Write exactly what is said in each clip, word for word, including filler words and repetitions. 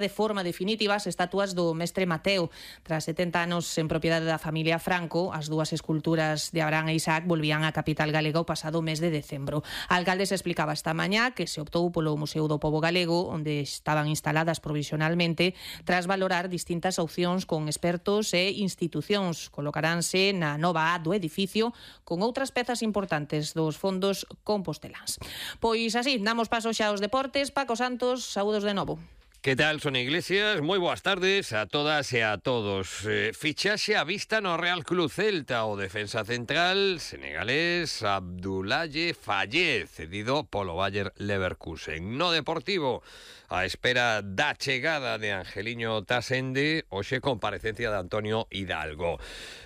de forma definitiva as estatuas do mestre Mateo. Tras setenta anos en propiedade da familia Franco, as dúas esculturas de Abraham e Isaac volvían á capital galega o pasado mes de decembro. A alcalde se explicaba esta mañá que se optou polo Museo do Pobo Galego, onde estaban instaladas provisionalmente, tras valorar distintas opcións con expertos e institucións. Colocaránse na nova A do edificio con outras pezas importantes dos fondos composteláns. Pois así, damos paso xa aos deportes. Paco Santos, saúdos de novo. Que tal, Sonia Iglesias? Moi boas tardes a todas e a todos. Eh, fichaxe a vista no Real Club Celta. O defensa central senegalés Abdoulaye Faye, cedido polo Bayer Leverkusen. No Deportivo, a espera da chegada de Angeliño Tasende, hoxe comparecencia de Antonio Hidalgo.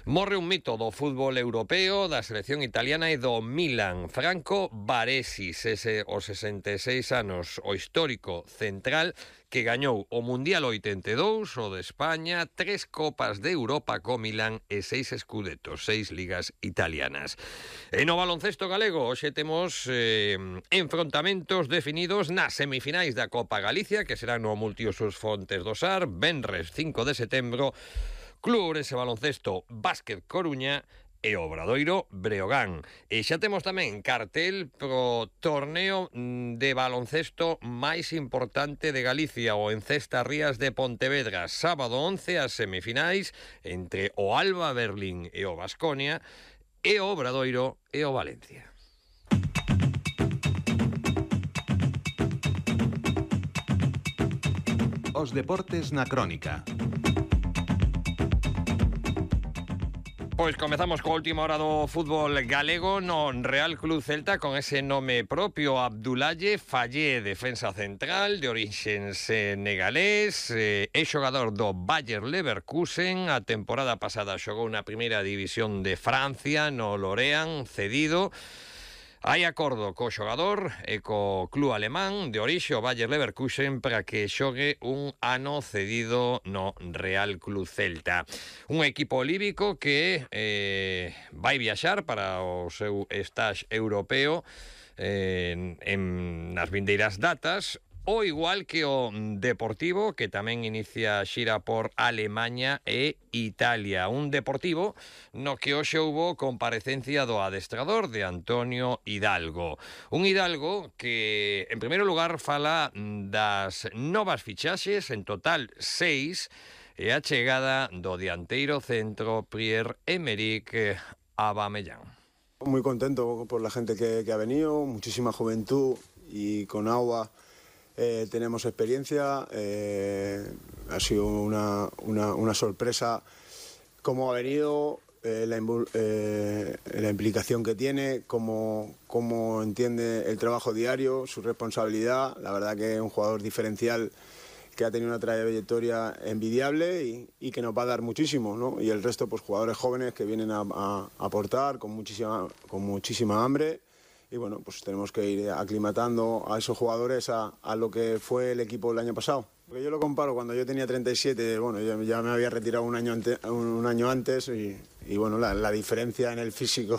Morre un mito do fútbol europeo, da selección italiana e do Milan. Franco Baresi, ese os sesenta e seis anos, o histórico central que gañou o Mundial oitenta e dous, o de España, tres Copas de Europa co Milan e seis escudetos, seis ligas italianas. E no baloncesto galego, hoxe temos eh, enfrontamentos definidos nas semifinais da Copa Galicia, que serán no Multiusos Fontes do Sar, venres cinco de setembro, Club Ourense Baloncesto Básquet Coruña e Obradoiro Breogán. E xa temos tamén cartel pro torneo de baloncesto máis importante de Galicia, o Encesta Rías de Pontevedra. Sábado once, as semifinais entre o Alba Berlín e o Baskonia, e o Obradoiro e o Valencia. Os deportes na crónica. Pois comezamos coa última hora do fútbol galego no Real Club Celta con ese nome propio, Abdoulaye Faye, defensa central de orixen senegalés, eh, é xogador do Bayer Leverkusen. A temporada pasada xogou na primeira división de Francia, no Lorient, cedido. Hai acordo co xogador e co club alemán de orixe, o Bayer Leverkusen, para que xogue un ano cedido no Real Club Celta. Un equipo líbico que eh, vai viaxar para o seu stage europeo eh, en, en nas vindeiras datas, o igual que o Deportivo, que tamén inicia xira por Alemaña e Italia. Un Deportivo no que hoxe houbo comparecencia do adestrador, de Antonio Hidalgo. Un Hidalgo que, en primeiro lugar, fala das novas fichaxes, en total seis, e a chegada do dianteiro centro Pierre-Emerick Aubameyang. Muy contento por la gente que, que ha venido, muchísima juventud, y con Aubameyang Eh, tenemos experiencia, eh, ha sido una, una, una sorpresa cómo ha venido, eh, la, eh, la implicación que tiene, cómo, cómo entiende el trabajo diario, su responsabilidad. La verdad que es un jugador diferencial que ha tenido una trayectoria envidiable y, y que nos va a dar muchísimo, ¿no? Y el resto, pues jugadores jóvenes que vienen a, a, a aportar con muchísima, con muchísima hambre. Y bueno, pues tenemos que ir aclimatando a esos jugadores a, a lo que fue el equipo el año pasado. Porque yo lo comparo cuando yo tenía treinta y siete, bueno, yo ya me había retirado un año, ante, un año antes y, y bueno, la, la diferencia en el físico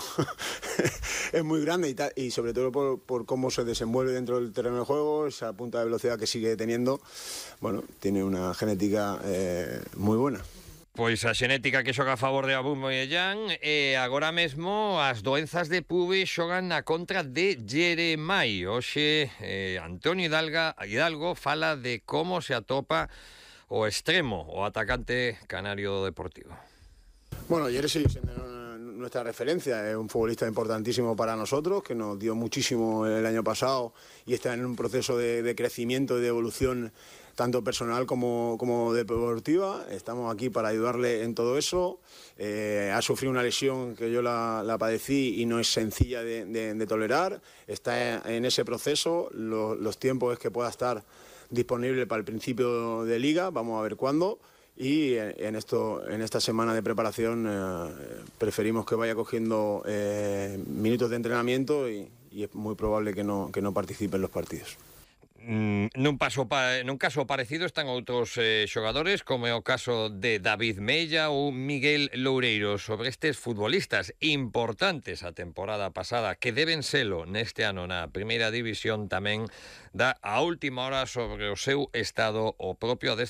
es muy grande y, ta, y sobre todo por, por cómo se desenvuelve dentro del terreno de juego, esa punta de velocidad que sigue teniendo, bueno, tiene una genética eh, muy buena. Pois a xenética que xoga a favor de Aubameyang, e agora mesmo as doenzas de pube xogan na contra de Jeremai. Hoxe eh, Antonio Hidalgo, Hidalgo fala de como se atopa o extremo, o atacante canario do Deportivo. Bueno, Jeremai sigue siendo nuestra referencia, es un futbolista importantísimo para nosotros, que nos dio muchísimo el año pasado y está en un proceso de, de crecimiento y de evolución tanto personal como, como deportiva. Estamos aquí para ayudarle en todo eso. Eh, ha sufrido una lesión que yo la, la padecí y no es sencilla de, de, de tolerar. Está en ese proceso. Los, los tiempos es que pueda estar disponible para el principio de liga. Vamos a ver cuándo. Y en, esto, en esta semana de preparación eh, preferimos que vaya cogiendo eh, minutos de entrenamiento y, y es muy probable que no, que no participe en los partidos. Mm, nun, paso pa, nun caso parecido están outros eh, xogadores, como é o caso de David Mella ou Miguel Loureiro. Sobre estes futbolistas importantes a temporada pasada, que deben selo neste ano na primeira división, tamén dá a última hora sobre o seu estado o propio adestrador